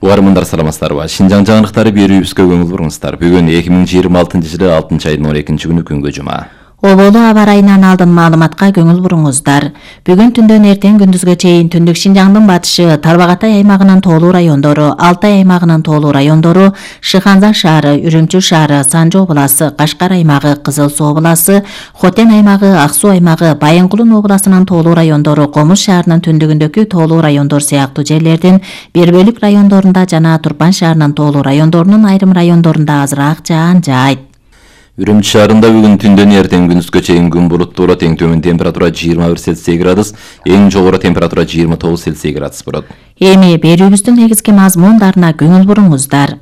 Угармандар саламатсыздарбы? Шинжаң жаңылыктары берүүбүзгө көңүл буруңуздар. Бүгүн 2026-жылы 6-айдын 12-күнү күнгө жума. Оболу аба ырайынан алдын маалыматка көңүл буруңуздар. Бүгүн түндөн эртең күндүзгө чейин түндүк Шинжаңдын батышы, Тарбағатай аймагынын тоолуу райондору, Алтай аймагынын тоолуу райондору, Шыханза шаары, Үрүмчү шаары, Санжы обласы, Кашкар аймагы, Кызыл Суу обласы, Хотен аймагы, Ак Суу аймагы, Байынгулун обласынын тоолуу райондору, Комуз шаарынын түндүгүндөгү тоолуу райондор сыяктуу жерлердин бир бөлүк райондорунда жана Турпан шаарынын тоолуу райондорунун айрым райондорунда азыраак жаан жаайт. Үрүмчү шаарында бүгүн түндөн эртең күндүзгө чейин күн булуттуу болот. Эң төмөн температура 21 Цельсий градус, эң жогору температура 29 Цельсий градус болот. Эми берүүбүздүн негизги мазмундарына көңүл буруңуздар.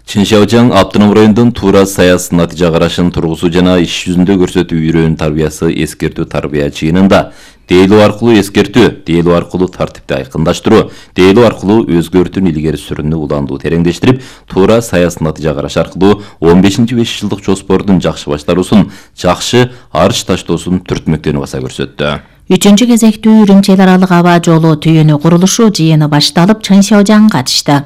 Чыншаужаң автоном районунун Туура Саяс натыйжа карашын тургузуу жана иш жүзүндө көрсөтүү үйрөнүү тарбиясы эскертүү тарбия жыйынында дейлөө аркылуу эскертүү, дейлөө аркылуу тартипти айкындаштыруу, дейлөө аркылуу өзгөртүүнү илгери сүрүүнү уландуу тереңдештирип, Туура Саяс натыйжа караш аркылуу 15-5 жылдык жоспордун жакшы баштаруусун, жакшы арыш таштоосун түртмөктөнү баса көрсөттү. 3-чү кезектүү Үрүмчү эл аралык аба жолу түйүнү курулушу жыйыны башталып, Чыншаужаң катышты.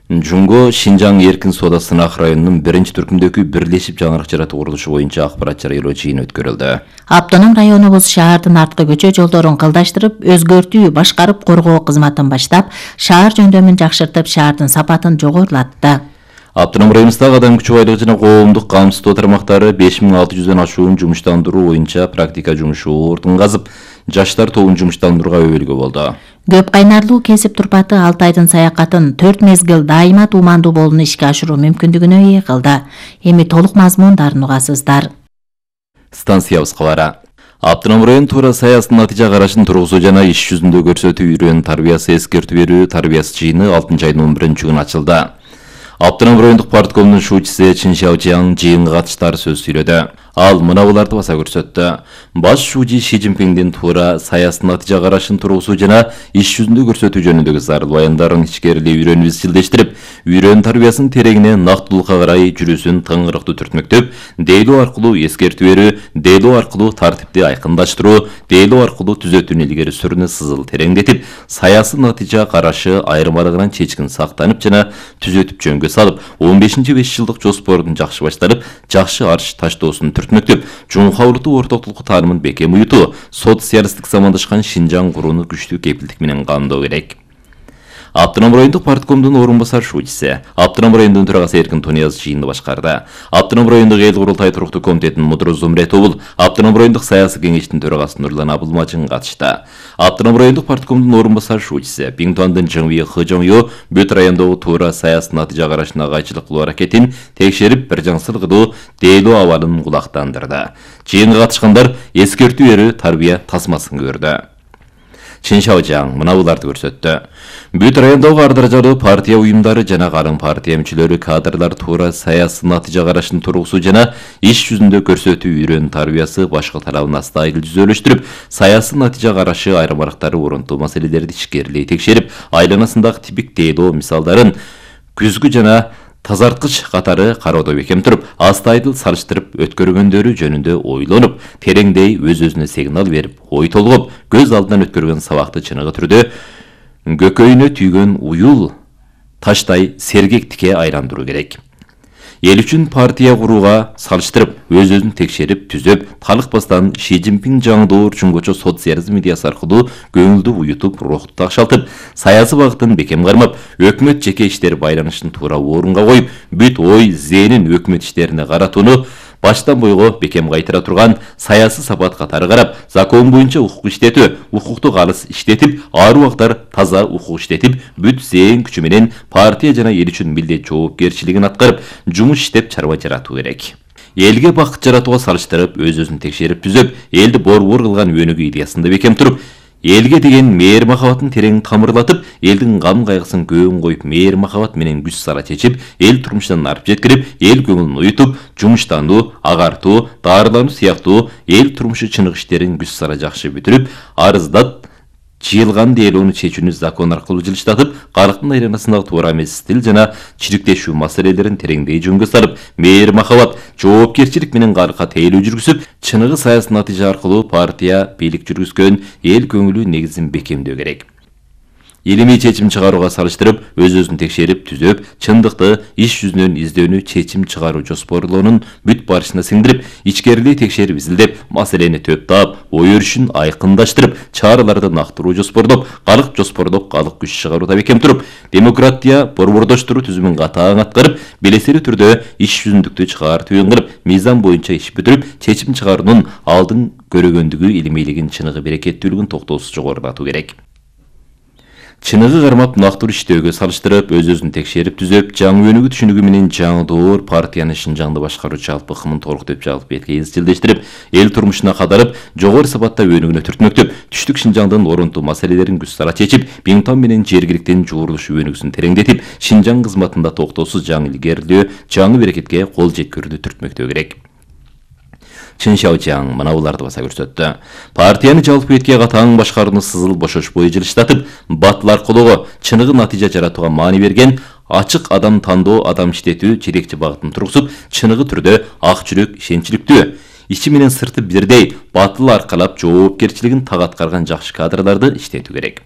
Жунго Шинжаң эркин соода сынак районунун 1-түркүмдөгү бирлешип жаңырык жаратуу курулушу боюнча акпарат жарыялоо жыйыны өткөрүлдү. Автоном районубуз шаардын арткы көчө жолдорун кылдаштырып, өзгөртүү, башкарып коргоо кызматын баштап, шаар жөндөмүн жакшыртып, шаардын сапатын жогорулатты. Автоном районундагы адам күчү байлыгы жана коомдук камсыздоо тармактары 5600дөн ашуун жумуштандыруу боюнча практика жумушу ордун казып, жаштар тобун жумуштандырууга өбөлгө болду. Көп кайнарлуу кесип турпаты Алтайдын саякатын 4 мезгил дайыма туумандуу болууну ишке ашыруу мүмкүндүгүнө ээ кылды. Эми толук мазмундарын угасыздар. Станциябыз кабары. Автоном район Туура Саяс натыйжа карашын тургузуу жана иш жүзүндө көрсөтүү үйрөнүү тарбиясы эскертүү берүү тарбиясы жыйыны 6-айдын 11-күнү ачылды. Автоном райондук парткомдун шуучусу Чыншаужаң жыйынга катыштар сөз сүйлөдү. Ал мынабуларды баса көрсөттү. Баш шуучу Ши Цзиньпиндин Туура Саяс натыйжа карашын тургузуу жана иш жүзүндө көрсөтүү жөнүндөгү зарыл баяндарын ичкерилей үйрөнүп изчилдештирип, үйрөнүү тарбиясынын тереңине нактылыкка карай жүрүүсүн тыңгырыктуу түртмөктөп, дейлөө аркылуу эскертүү берүү, дейлөө аркылуу тартипти айкындаштыруу, дейлөө аркылуу түзөтүүнү илгери сүрүүнү сызыл тереңдетип, саясий натыйжа карашы айрым арыгынан чечкин сактанып жана түзөтүп жөнгө салып, 15-5 жылдык жоспордун жакшы баштарып, жакшы арыш таштоосун түртмөктөп, жумхабылыктуу ортоктулук таанымын бекем уютуу, социалисттик замандашкан Шинжаң курууну күчтүү кепилдик менен камдоо керек. Автоном райондук парткомдун орун басар шуучусу, Автоном райондун төрагасы Эркин Тониязов жыйынды башкарды. Автоном райондук эл курултай туруктуу комитетинин мудру Зумрет Обул, Автоном райондук саясий кеңештин төрагасы Нурлан Абылмажын катышты. Автоном райондук парткомдун орун басар шуучусу Биңтуандын Жыңви Хыжоңё бүт райондогу Туура Саяс натыйжа карашына кайчылык кылуу аракетин текшерип, бир жаңсыл кылуу дейлөө абалын кулактандырды. Жыйынга катышкандар эскертүү берүү тарбия тасмасын көрдү. Чыншаужаң мынабуларды көрсөттү. Бүт райондогу ар даражалуу партия уюмдары жана калың партия мүчөлөрү кадрлар Туура Саяс натыйжа карашын тургузуу жана иш жүзүндө көрсөтүү үйрөнүү тарбиясы башкы тарабына стайыл түзөлүштүрүп, саясий натыйжа карашы айрым арактары орунтуу маселелерди ичкерилей текшерип, айланасындагы типик дейлөө мисалдарын күзгү жана тазарткыч катары кароодо бекем туруп, астайдыл салыштырып өткөргөндөрү жөнүндө ойлонуп, тереңдей өз-өзүнө сигнал берип, ой толгоп, көз алдынан өткөргөн сабакты чыныгы түрдө көкөйүнө түйгөн уюл таштай сергектикке айландыруу керек. Эл үчүн партия курууга салыштырып, өз-өзүн текшерип, түзөп, талыкпастан Ши Цзиньпин жаңдоор чуңгучу социализм идеясы аркылуу көңүлдү уютуп, рухту такшалтып, саясий багытын бекем кармап, өкмөт жеке иштер байланышын туура орунга коюп, бүт ой, зээнин өкмөт иштерине каратууну баштан бойго бекем кайтыра турган саясий сапат катары карап, закон боюнча укук иштетүү, укукту калыс иштетип, ар убактар таза укук иштетип, бүт зээн күчү менен партия жана эл үчүн милдет жоопкерчилигин аткарып, жумуш иштеп чарба жаратуу керек. Элге бакыт жаратууга салыштырып, өз-өзүн текшерип түзөп, элди борбор кылган өнүгүү идеясында бекем туруп, элге деген мээр махабатын терең тамырлатып, элдин гам кайгысын көөн коюп, мээр махабат менен күч сала чечип, эл турмушунан арып жеткирип, эл көңүлүн уютуп, жумуштануу, агартуу, даарылануу сыяктуу эл турмушу чыныгы иштерин күч сала жакшы бүтүрүп, арыздат жыйылган дейлоону чечүүнү закон аркылуу жылыштатып, калктын айланасындагы туура эмес стиль жана чириктешүү маселелерин тереңдей жөнгө салып, мээр махабат, жоопкерчилик менен калкка тейлөө жүргүзүп, чыныгы саясий натыйжа аркылуу партия бийлик жүргүзгөн эл көңүлү негизин бекемдөө керек. илимий чечим чыгарууга салыштырып, өз-өзүн текшерип, түзөп, чындыкты иш жүзүнөн издөөнү чечим чыгаруу жоспорлоонун бүт барышына сиңдирип, ичкерилий текшерип изилдеп, маселени төп таап, ой өрүшүн айкындаштырып, чараларды нактыруу жоспордоп, калык жоспордоп, калык күч чыгарууда бекем туруп, демократия борбордоштуруу түзүмүн катаң аткарып, белесели түрдө иш жүзүндүктү чыгаар түйүн кылып, мыйзам боюнча иш бүтүрүп, чечим чыгаруунун алдын көрөгөндүгү, илимийлигин, чыныгы берекеттүүлүгүн токтоосуз жогорулатуу керек. Чыныгы кармап нактыруу иштөөгө салыштырып, өз-өзүн текшерип түзөп, жаңы өнүгүү түшүнүгү менен жаңы доор партияны Шинжаңды башкаруучу жалпы ыкмын толуктап жалпы бетке изчилдештирип, эл турмушуна кадарып, жогору сапатта өнүгүүнө түртмөктөп, түштүк Шинжаңдын орунтуу маселелерин күз сара чечип, Биңтон менен жергиликтин жуурулушу өнүгүүсүн тереңдетип, Шинжаң кызматында токтоосуз жаңы илгерилөө, жаңы берекетке кол жеткирүүнү түртмөктөө керек. Чын Шаочаң мына буларды баса көрсөттү. Партияны жалпы бетке катаң башкарууну сызыл бошошпой жылыштатып, батыл аркылуу чыныгы натыйжа жаратууга маани берген, ачык адам тандоо, адам иштетүү жетекчи багытын тургузуп, чыныгы түрдө ак жүрөк, ишенчиликтүү, ичи менен сырты бирдей батыл аркалап жоопкерчилигин так аткарган жакшы кадрларды иштетүү керек.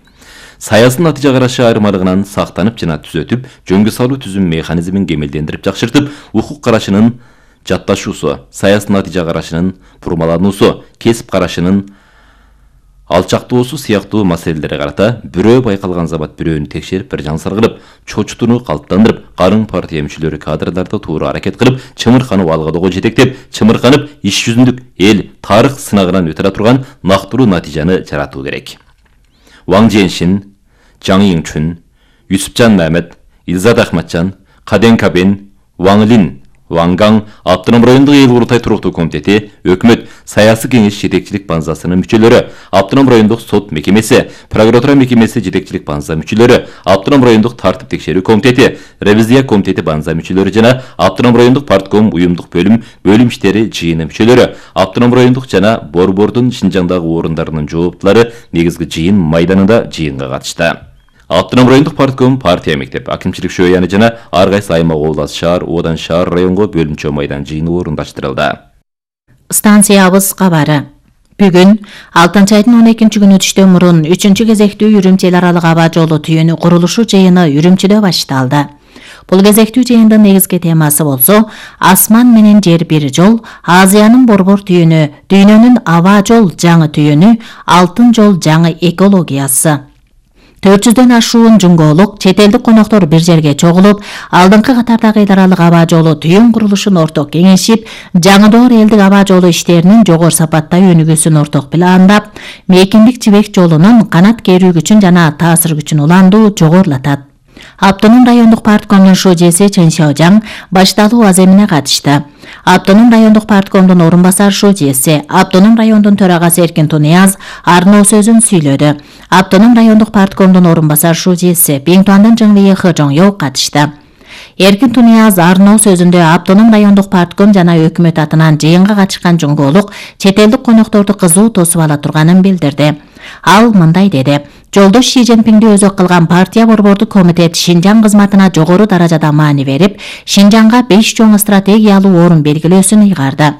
Саясий натыйжа карашы айырмалыгынан сактанып жана түзөтүп, жөнгө салуу түзүм механизмин кемелдендирип жакшыртып, укук карашынын жатташуусу, саясий натыйжа карашынын бурмалануусу, кесип карашынын алчактоосу сыяктуу маселелерге карата бирөө байкалган замат бирөөнү текшерип, бир жансар кылып, чочутууну калыптандырып, карын партия мүчөлөрү кадрларды туура аракет кылып, чымырканып алгадоого жетектеп, чымырканып иш жүзүндүк эл тарых сынагынан өтө турган нактыруу натыйжаны жаратуу керек. Ваң Женшин, Жаң Йиңчүн, Юсупжан Мамед, Илзат Ахматжан, Каден Кабен, Ваң Лин, Ваң Гаң Автоном райондук эл курултай туруктуу комитети, өкмөт, саясий кеңеш жетекчилик базасынын мүчөлөрү, Автоном райондук сот мекемеси, прокуратура мекемеси жетекчилик база мүчөлөрү, Автоном райондук тартип текшерүү комитети, ревизия комитети база мүчөлөрү жана Автоном райондук партком уюмдук бөлүм иштери жыйыны мүчөлөрү, Автоном райондук жана Борбордун Шинжаңдагы орундарынын жооптулары негизги жыйын майданында жыйынга катышты. Автоном райондук партком, партия мектеп, акимчилик шөйяны жана ар кайсы аймак, область, шаар, одан шаар районго бөлүнчө майдан жыйыны орундаштырылды. Станциябыз кабары. Бүгүн 6-айдын 12-күнү түштөн мурун 3-чү кезектүү Үрүмчи эл аралык аба жолу түйүнү курулушу жыйыны Үрүмчүдө башталды. Бул кезектүү жыйындын негизги темасы болсо, асман менен жер бир жол, Азиянын борбор түйүнү, дүйнөнүн аба жол жаңы түйүнү, алтын жол жаңы экологиясы. 400дөн ашуун жуңголук, чет элдик коноктор бир жерге чогулуп, алдыңкы катардагы эл аралык аба жолу түйүн курулушун орток кеңешип, жаңы доор элдик аба жолу иштеринин жогору сапатта өнүгүүсүн орток пландап, Мейкиндик Жибек жолунун канат керүү күчүн жана таасир күчүн уландуу жогорулатат. Автоном райондук парткомдун шожеси Чын Шаочаң башталуу аземине катышты. Автоном райондук парткомдун орун басар шожеси, Автоном райондун төрагасы Эркин Тунияз арноо сөзүн сүйлөдү. Автоном райондук парткомдун орун басар шожеси Биңтуандын Жыңвейи Хыжоңё катышты. Эркин Тунияз арноо сөзүндө Автоном райондук партком жана өкмөт атынан жыйынга катышкан жуңголук чет элдик конокторду кызуу тосуп ала турганын билдирди. Ал мындай деди: Жолдош Ши Цзиньпинди өзөк кылган партия борбордук комитет Шинжаң кызматына жогору даражада маани берип, Шинжаңга 5 чоң стратегиялуу орун белгилөөсүн ыйгарды.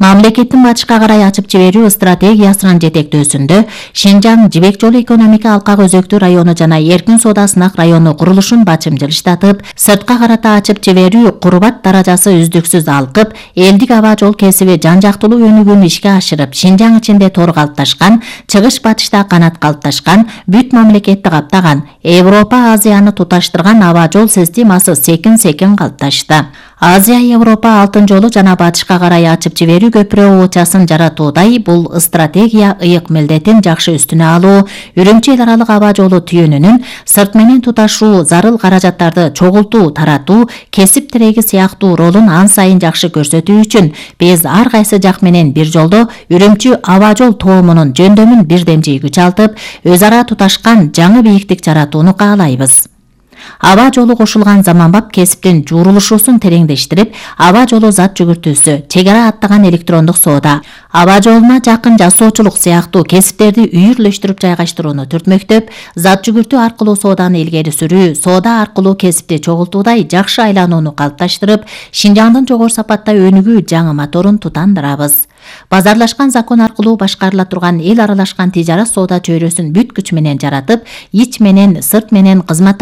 Мамлекеттин батышка карай ачып жиберүү стратегиясынын жетектөөсүндө Шинжаң Жибек жолу экономика алкак өзөктүү району жана эркин соода сынак району курулушун бачым жылыштатып, сыртка карата ачып жиберүү курбат даражасы үздүксүз алкып, элдик аба жол кесиби жан жактылуу өнүгүүнү ишке ашырып, Шинжаң ичинде тор калыпташкан, чыгыш батышта канат калыпташкан, бүт мамлекетти каптаган, Европа Азияны туташтырган аба жол системасы секин калыпташты. Азия-Европа алтын жолу жана батышка карай ачып жиберүү көпүрө оочасын жаратуудай бул стратегия ыйык милдетин жакшы үстүнө алуу, Үрүмчи эл аралык аба жолу түйүнүнүн сырт менен туташуу, зарыл каражаттарды чогултуу, таратуу, кесип тиреги сыяктуу ролун ан сайын жакшы көрсөтүү үчүн биз ар кайсы жак менен бир жолдо Үрүмчи аба жол тоомунун жөндөмүн бирдемчей күч алтып, өз ара туташкан жаңы бийиктик жаратууну каалайбыз. Аба жолу кошулган заманбап кесиптин жуурулушуусун тереңдештирип, аба жолу зат жүгүртүүсү, чек ара аттаган электрондук соода, аба жолуна жакын жасоочулук сыяктуу кесиптерди үйүрлөштүрүп жайгаштырууну түртмөктөп, зат жүгүртүү аркылуу сооданы илгери сүрүү, соода аркылуу кесипти чогултуудай жакшы айланууну калыпташтырып, Шинжаңдын жогору сапатта өнүгүү жаңы моторун тутандырабыз. Базарлашкан закон аркылуу башкарыла турган эл аралашкан тижарат соода чөйрөсүн бүт күч менен жаратып, ич менен, сырт менен кызматташуу